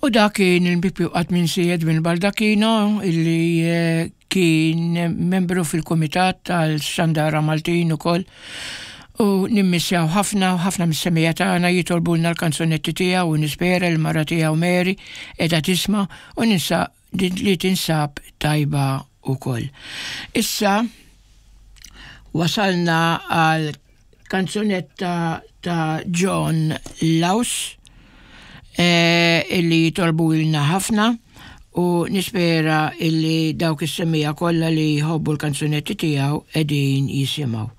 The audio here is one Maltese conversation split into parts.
U dak kien il-Bipju qatt minsi Edwin Baldacchino illi eh, kien membru fil-Kumitat tal-Xandara Maltin ukoll u nimmissjaw ħafna u ħafna mis-semija tagħna jitolbulna l-kanzunetti tiegħu u nispera l-mara tiegħu Mary qiegħda tisma' u ninsa li tinsab tajba ukoll. Issa wasalna għal Kanzunetta ta' John Laus eh, illi jitolbu ilna ħafna u nispera illi dawk is-semija kollha li jħobbu l-kanzunetti tiegħu qegħdin jisimgħu.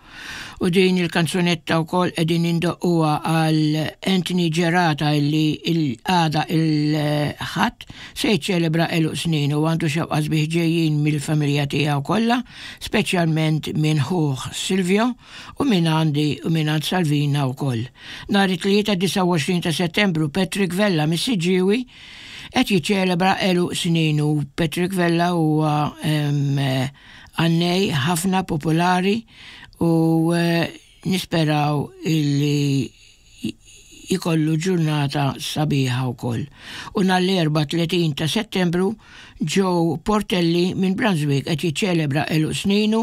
U din il-kanzunetta wkoll qegħdin indoqquha għal Anthony Gerata illi il-għada il-ħadd se jiċċelebra għeluq snin u għandu xewqa sbieħ ġejjin mill-familja tiegħu kollha, speċjalment minn ħuh Silvio u minn għandi u minn għand Salvina wkoll. Nhar it-Tlieta 29 ta' Settembru Patrick Vella mis-Siġġiewi qed jiċċelebra għeluq sninu. Patrick Vella huwa għannej ħafna popolari u eh, nisperaw illi jkollu ġurnata sabiħa wkoll. U nhar l-Erbgħa 30 ta' Settembru Joe Portelli minn Brunswick qed jiċċelebra għeluq sninu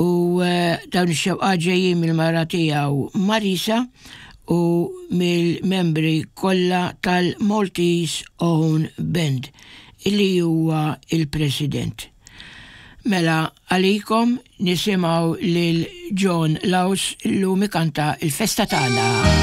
u eh, dawn ix-xewqat ġejjin mill-mara tiegħu Marisa u mill-membri kollha tal-Maltese Own Band illi huwa il-President. Mela għalikom nisimgħu lil John Laus illum ikanta il-festa tagħna.